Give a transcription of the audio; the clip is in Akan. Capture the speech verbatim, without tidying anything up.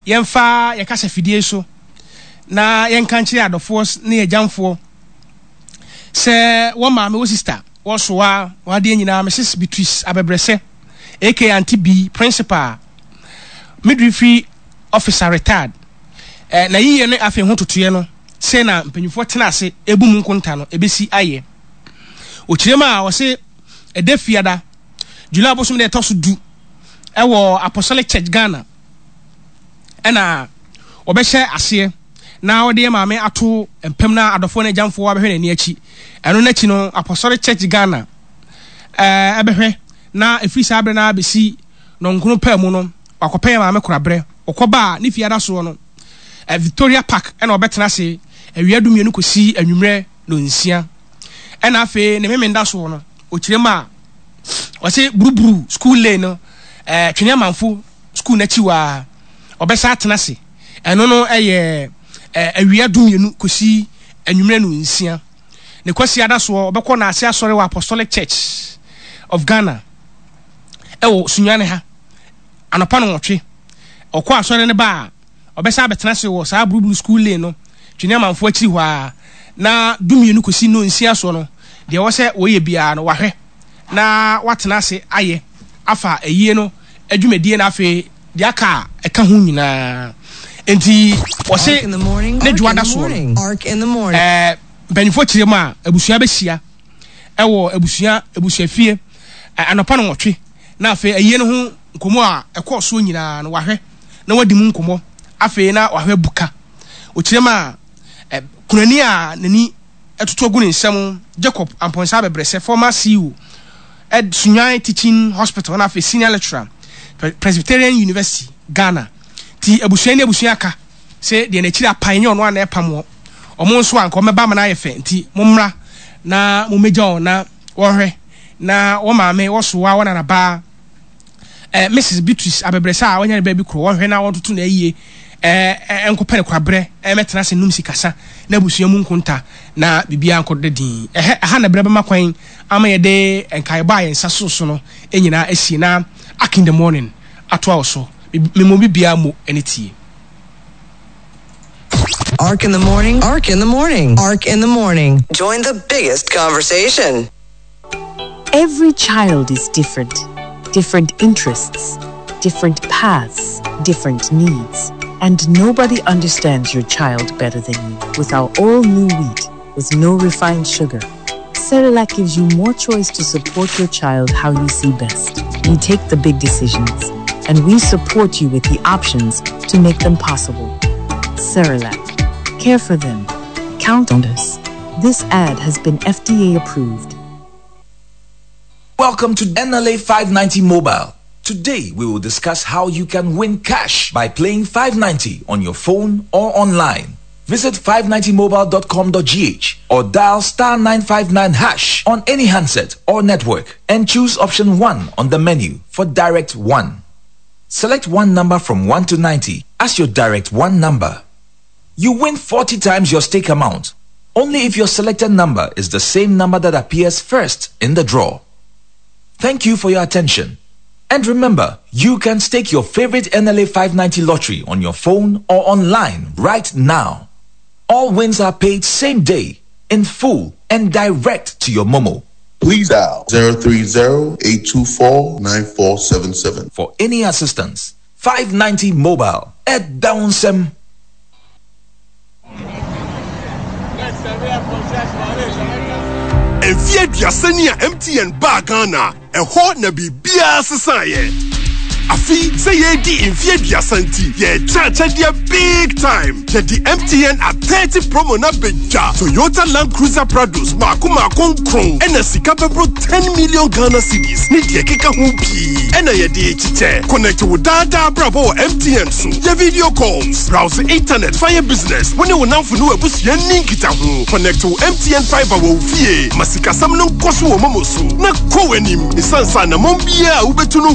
Yɛmfa yɛn kasafidie so na yɛnka nkyerɛ adɔfoɔ ne agyamfoɔ sɛ wɔn maame, wɔ sister, wɔsoa wɔn adeɛ nyinaa, Missus Beatrice Abɛbrɛsɛ, aka Auntie B, principal, midwifery officer retired. Eh, na yiyɛ no afei ho totoeɛ no sɛ na mpanyinfoɔ tena ase ebu mu nkonta no ebesi ayɛ. Okyerɛ mu a ɔse ɛda Fiada, July bosom deɛ ɛtɔ so du, ɛwɔ Apostolic Church Ghana ɛna wɔbɛhyɛ aseɛ na wɔde yɛ maame ato mpam na adɔfoɔ no agyamfoɔ abɛhwɛ n'ani akyi. Ɛno n'akyi no, Apostolic Church Ghana ɛɛ ɛbɛhwɛ na ɛfiri saa berɛ no abɛsi nɔnkono paa mu no, wakɔpɛ yɛ maame koraberɛ. Ɔkɔba a ne Fiada soɔ no, ɛ Victoria Park ɛna ɔbɛtena ase awia du mmienu kɔsi anwummerɛ nonsia. Ɛna afei ne memenda soɔ no, ɔkyerɛ mu a ɔse Buruburu School Lane no, ɛɛ Twene Amanfo School n'akyi waa ɔbɛsa atena ase. Ɛno no ɛyɛ ɛɛ awia du mmienu kɔsi anwummerɛ no nsia. Ne Kwasi ada soɔ, ɔbɛkɔ n'ase asɔre wɔ Apostolic Church of Ghana ɛwɔ Sunyane ha anɔpa no nwɔtwe. Ɔkɔ asɔre no ba a, ɔbɛsa abɛtena ase wɔ saa Buruburu School Lane no, Twene Amanfo akyiri hɔ a, na du mmienu kɔsi no nsia soɔ no, deɛ ɛwɔ sɛ wɔyɛ biara no, wahwɛ na watena ase ayɛ afa ayie no adwumadie na afei deɛ aka a ɛka ho nyinaa. Nti wɔse ne dwoada soɔ no, ɛɛ mpanyinfoɔ kyerɛ mu a, abusua bɛhyia ɛwɔ abusua abusuafie anɔpa no nwɔtwe na afei ayie no ho nkɔmmɔ a ɛkɔɔ soɔ nyinaa no, wahwɛ na wadi mu nkɔmmɔ. Afei na wahwɛ buka ɔkyerɛ mu a ɛ kunani a n'ani ɛtoto agu ne nsam, Jacob Ampɔnsa Abɛbrɛsɛ, former C E O ed Sunyani Teaching Hospital na afei senior lecturer, Presbyterian University Ghana. Ti abusua ne abusua aka sɛ deɛ n'akyiri apan nyɛ ɔno a na ɛpam wɔ ɔmo nso a nka ɔmɛba ama no ayɛ fɛ. Nti mommra na mommɛgya wɔn na wɔhwɛ na wɔn maame wɔsoa wɔn nanabaa eh, Missus Beatrice Abɛbrɛsɛ a wɔanya ne baabi koro, wɔhwɛ na wɔntoto no ayie, ɛɛ nkɔpɛ ne kwabrɛ ɛmɛtena ase num sikasa na abusua mu nkonta na biribiara nkɔ da din. Ɛhɛ ɛha na berɛ bɛma kwan ama yɛde nkaebɔ a yɛn nsa so so no nyinaa asie na Ark in the Morning atoa wo so. Mmom bibiara mu ɛne tie. Ark in the Morning, Ark in the Morning, Ark in the Morning. Join the biggest conversation. Every child is different. Different interests, different paths, different needs. And nobody understands your child better than you. With our all new wheat, with no refined sugar, Cerelac gives you more choice to support your child how you see best. We take the big decisions, and we support you with the options to make them possible. Cerelac. Care for them. Count on us. This ad has been F D A approved. Welcome to N L A five ninety Mobile. Today we will discuss how you can win cash by playing five ninety on your phone or online. Visit five ninety mobile dot com dot G H or dial star nine five nine hash on any handset or network and choose option one on the menu for Direct one. Select one number from one to ninety as your Direct one number. You win forty times your stake amount only if your selected number is the same number that appears first in the draw. Thank you for your attention. And remember, you can stake your favorite N L A five ninety lottery on your phone or online right now. All wins are paid same day, in full, and direct to your Momo. Please dial zero three zero, eight two four, nine four seven seven. For any assistance, five ninety Mobile at Downsem. Mfeɛ aduasa ni a M T N baa Ghana, ɛhɔ na biribiara sesaeɛ. Afei sɛ yɛredi mfeɛ aduasa nti, yɛrekyɛ akyɛdeɛ big time. Yɛde M T N at thirty promo na bɛdwa Toyota Land Cruiser Prados maako maako nkron, ɛna sika bɛboro ten million Ghana cedis ne deɛ ɛkeka ho pii ɛna yɛde kyekyɛ. Connect wo daadaa brabɔ wɔ M T N so, yɛ video calls, browse internet, fa business, wo ne wo namfo ne w'abusua nni nkitaho. Connect wo M T N fibre wɔ wo fie ma sikasɛm no nkɔ so wɔ Momo so na kɔ w'anim, ɛsiane sɛ anammɔn biara a wobɛtu no.